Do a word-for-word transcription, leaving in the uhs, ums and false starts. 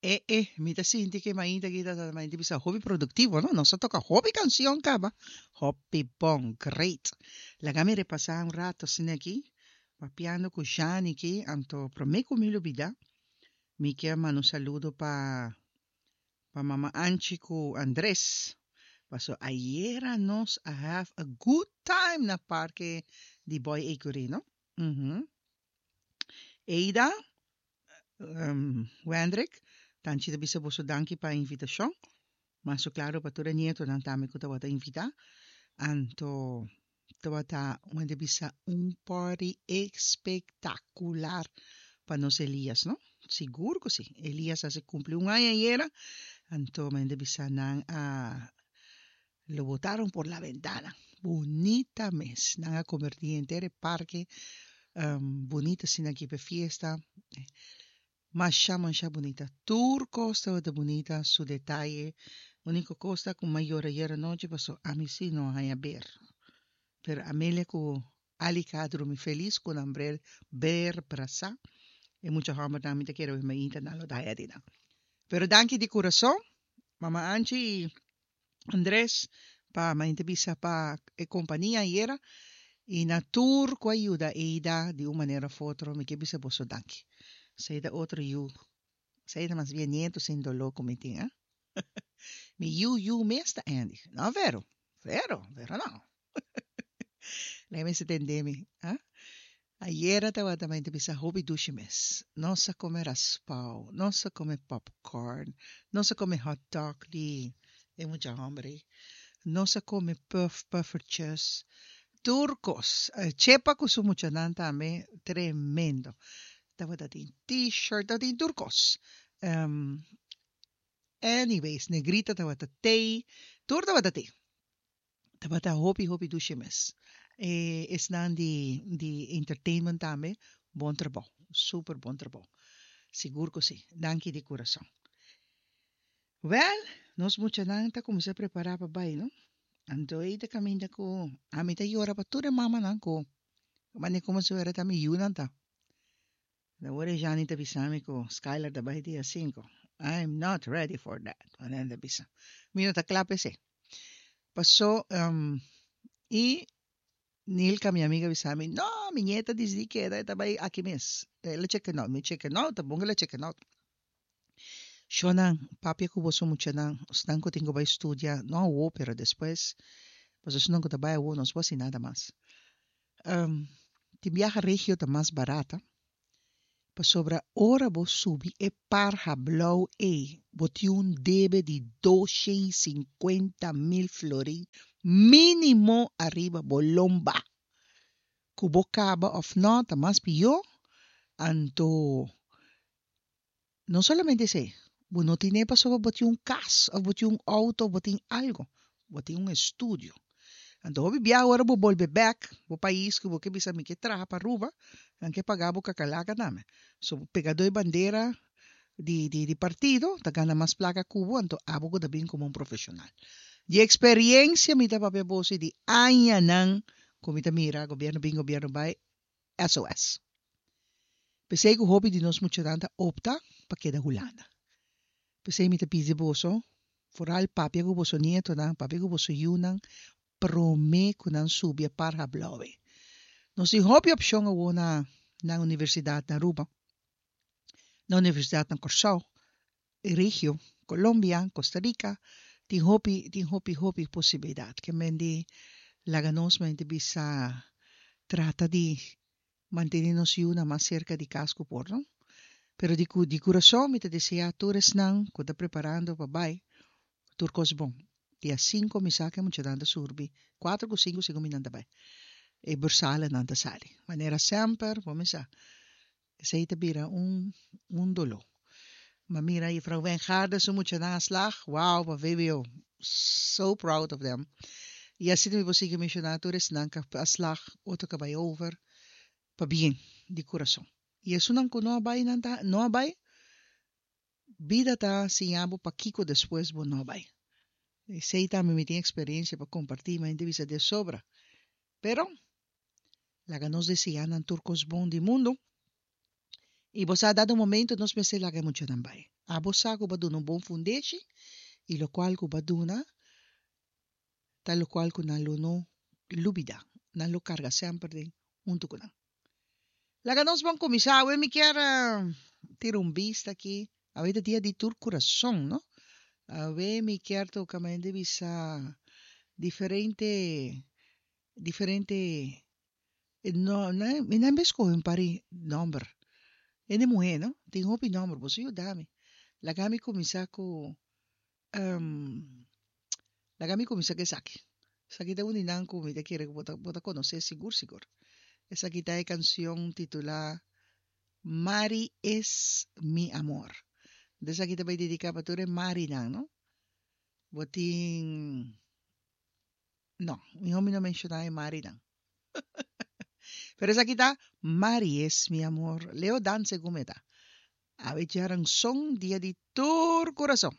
E, e, mi ta sinti ku mainta aki ta mainta bisa hopi produktivo, no? Nos a toka hopi kanshon kaba. Hopi bon, great. Laga mi repasá un ratu asina aki, papiando ku Jani aki, anto promé ku mi lubidá, mi ke manda un saludo pa pa Mama Anchi ku Andres. Paso ayera nos a have a good time na parke di Boy Ecury, no? Mhm. Eida, um, Wendrick, tanchi ta bisa boso danki pa invitashon. Mas klaro pa tur e nietonan tambe ku tabata invitá. Anto tabata un di bisa un party espektakular pa nos Elias, no? Sigur ku si. Elias a kumpli un aña ayera. Anto men bisa nan a lo botaron por la ventana. Bunita mes. Nan a konvertí henter e parke um, bunita asina aki pa fiesta. Masha, masha bunita. Tur kos tabata bunita, su detaye. Úniko kos ku m'a yora ayera nochi, paso ami sí no a haña ber. Pero Amelia ku Alika a drumi felis ku nan ber ber brasá. E mucha hòmber tambe ta kere mainta nan lo daya di nan. Pero danki di kurason, Mama Anchi i Andres, pa mainta bisa pa e kompania ayera. I na tur ku a yuda Eida di un manera òf otro, mi ke bisa boso danki. Esei ta otro yu. Esei ta mas bien nieto sin doló ku mi tin, eh? Mi yu yu mes ta Andy. No, Vero. Vero, Vero no. Lei mi se tende mi, ah? Ayera tabata mainta bisa hopi dushi mes. Nos a kome raspou, nos a kome popcorn, nos a kome hot dog di e mucha hòmber. Nos a kome puff, puffertjes. Tur kos. Chepa ku su muchanan tambe, tremendo. Tabata tin t-shirt, tabatin tur kos. Um, anyways, Negrita tabata tei, tur tabata tei. Tabata hopi hopi dushi mes. E esnan di di entertainment tambe, bon trabou, super bon trabou. Sigur ku si. Danki di kurason. Well, nos muchanan ta kuminsá prepará pa bai, no? Anto ei ta kaminda ku ami ta yora pa tur e mamanan ku mane komo si fuera ta mi yunan ta. Awor Jani ta bisami ku Skylar ta bai dia sinku. I'm not ready for that. Manera ta bisa. Mi no ta kla p'esei. Pasó um, i Nilka, mi amiga, bisami, no, mi nieta disidí keda, ta bai aki mes. El a check out, mi check out, ta bon el a check out. Shonnan, papia ku boso muchanan, esnan ku tin ku bai studia, no awo, pero despues, paso esnan ku ta bai awo, no por hasi nada mas. Um, tin biaha regio ta mas barata, pasobra ora bo subi e parha blou ei, bo tin un debe di doshen sinkuenta mil florin mínimo ariba bo lomba. Ku bo kaba òf no, ta mas pió, anto no solamente esei, bo no tin pasobra bo tin un kas, òf bo tin un outo, bo tin algu, bo tin un estudio. Anto hopi biaha ora bo bolbe bèk, bo pais ku bo ke bisa mi ke traha pa Aruba, nan ke paga bo kakalaka tambe. So pegadó e bandera di, di, di partido, ta gana mas plaka ku bo, anto abo ku ta bin komo un profeshonal. Di eksperensia mi ta papia boso di añanan ku mi ta mira gobièrnu bin, gobièrnu bai, S O S. P'esei ku hopi di nos muchanan ta opta pa keda Hulanda. P'esei mi ta pidi boso, vooral papia ku boso nietonan, papia ku boso yunan, promé ku nan subi e parha blou. Nos tin hopi opshon awo na na universidat na Aruba, na universidat na Kòrsou, Regio, Colombia, Costa Rica, tin hopi, tin hopi, hopi posibilidat. Ke men di laga nos mente bisa trata di mantené nos yunan mas serka di kas ku por, no? Pero di, di kurason mi ta deseá tur esnan ku ta preparando pa bai, tur kos bon. Dia sinku mi sa ku muchanan ta subi, kuater ku sinku segun mi nan ta bai. E bursalen ta sali. Manera semper, bo sa. Esei ta bira un, un doló. Maar mira, juffrouw Wijngaarden, su muchanan a slaag. Wow, pa V B O. So proud of them. I asina mi por sigui menshoná tur esnan ku a slaag, otro ku bai over. Pabien, di kurason. I esnan ku no a bai, nan ta, no a bai, bida ta siña bo pakiko despues bo no bai. Esei tambe mi tin eksperensia pa kompartí, ma bisa di sobra. Pero, laga nos deseá nan tur kos bon di mundu. I bo sa, dado momento, nos mester laga muchanan bai. Abo sa ku bo a duna un bon fundeshi i lokual ku bo a duna ta lokual ku nan lo no lubida, nan lo karga semper den huntu ku nan. Laga nos bon kuminsá. Awe mi kier tira un bista aki. Awe ta dia di tur kurason, no? Awe mi kier toka mente bisa diferente diferente no mi nan be skohe un par di nòmber. Hende muhé no tin hopi nòmber, boso yuda mi. Laga mi kuminsá ku Laga mi kuminsá ku esaki. Esaki ta un di nan ku mi ta kere ku bo ta bo ta konosé sigur sigur. Esaki ta e kansion titulá Mari es mi amor. Enton esaki ta bai dediká pa tur e Marinan, no? Bo tin, no, mihó mi no menshoná e Marinan. Pero esaki ta Mari es mi amor. Leo Dan segun mi ta. Awe djaranson dia di tur kurason.